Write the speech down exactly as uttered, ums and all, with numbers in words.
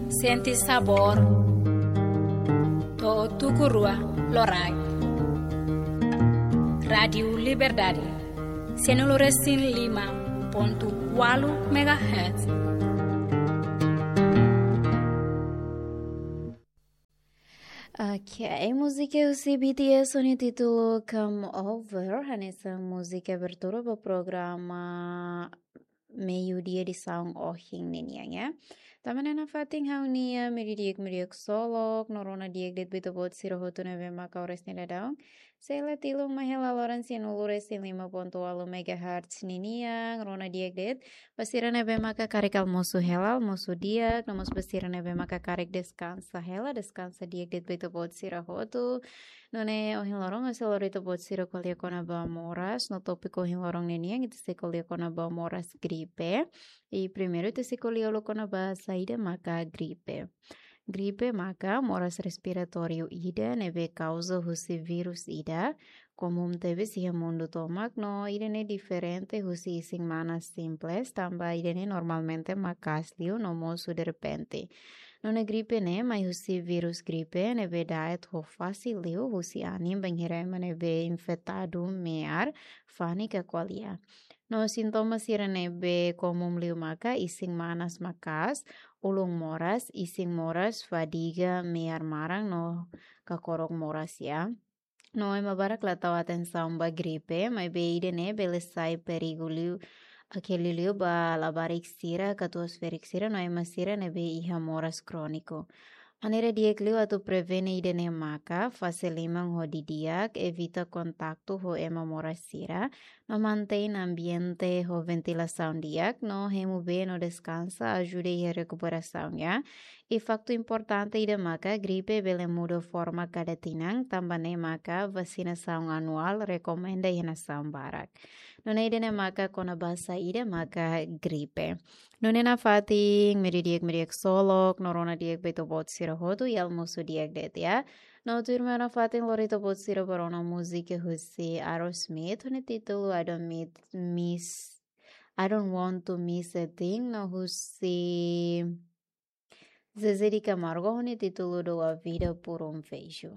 Sente sabór. To'o tuku rua loraik. Rádiu Liberdade, sianulu resin lima pontu ualu megahertz. Ok, múzika husi B T S ho nia títulu Come Over, hanesan múzika abertura ba programa meiudia edisaun ohin ninian, ya. Tanba ne'e nafatin ha'u-nia meiudia di'ak, meiudia di'ak ksolok, no rona di'ak de'it ba ita-boot sira hotu ne'ebé maka oras ne'e daudaun sei la tilun mai hela loron sianulu resin lima pontu ualu megahertz ninian, rona di'ak de'it ba sira ne'ebé maka karik almosu hela, almosu di'ak, no mós ba sira ne'ebé maka karik deskansa hela, deskansa di'ak de'it ba ita-boot sira hotu. Nune'e ohin loron ha'u sei lori ita-boot sira ko'alia kona-ba moras, no tópiku ohin loron ninian ita sei ko'alia kona-ba moras gripe. I primeiru ita sei ko'alia hahú kona-ba saida maka gripe. Gripe maka moras respiratóriu ida ne'ebé kauza husi vírus ida, komún tebes iha mundu tomak no ida-ne'e diferente husi isin-manas simples, tanba ida-ne'e normalmente maka'as liu no mosu derrepente. Nune'e gripe ne'e mai husi vírus gripe ne'ebé da'et ho fasil liu husi anin bainhira ema ne'ebé infetadu me'ar, fani ka ko'alia. No sintoma sira ne'ebé komún liu maka isin-manas maka'as, ulun moras, isin moras, fadiga, me'ar maran no kakorok moras, ya. No ema barak la tau atensaun ba gripe, maibé ida-ne'e bele sai perigu liu, akeli liu ba labarik sira, katuas-ferik sira no ema sira ne'ebé iha moras króniku. Maneira di'ak liu atu prevene ida-ne'e maka fase liman ho di'ak, evita kontaktu ho ema moras sira, no mantein ambiente ho ventilasaun di'ak, no hemu bee no deskansa, ajuda iha rekuperasaun, ya. I faktu importante ida maka gripe bele muda forma kada tinan, tanba ne'e maka vasinasaun anuál rekomenda iha nasaun barak. Nune'e ida-ne'e maka kona-ba saida maka gripe. Nune'e nafatin, meiudia di'ak, meiudia di'ak ksolok, no rona di'ak ba ita-boot sira hotu, i almosu di'ak de'it, ya. No tuirmai nafatin lori ita-boot sira ba rona múzika husi Aerosmith, ho nia títulu I Don't Miss, Miss, I Don't Want to Miss a Thing, no husi Zezé de Camargo, ho nia títulu Dou a Vida por um Beijo.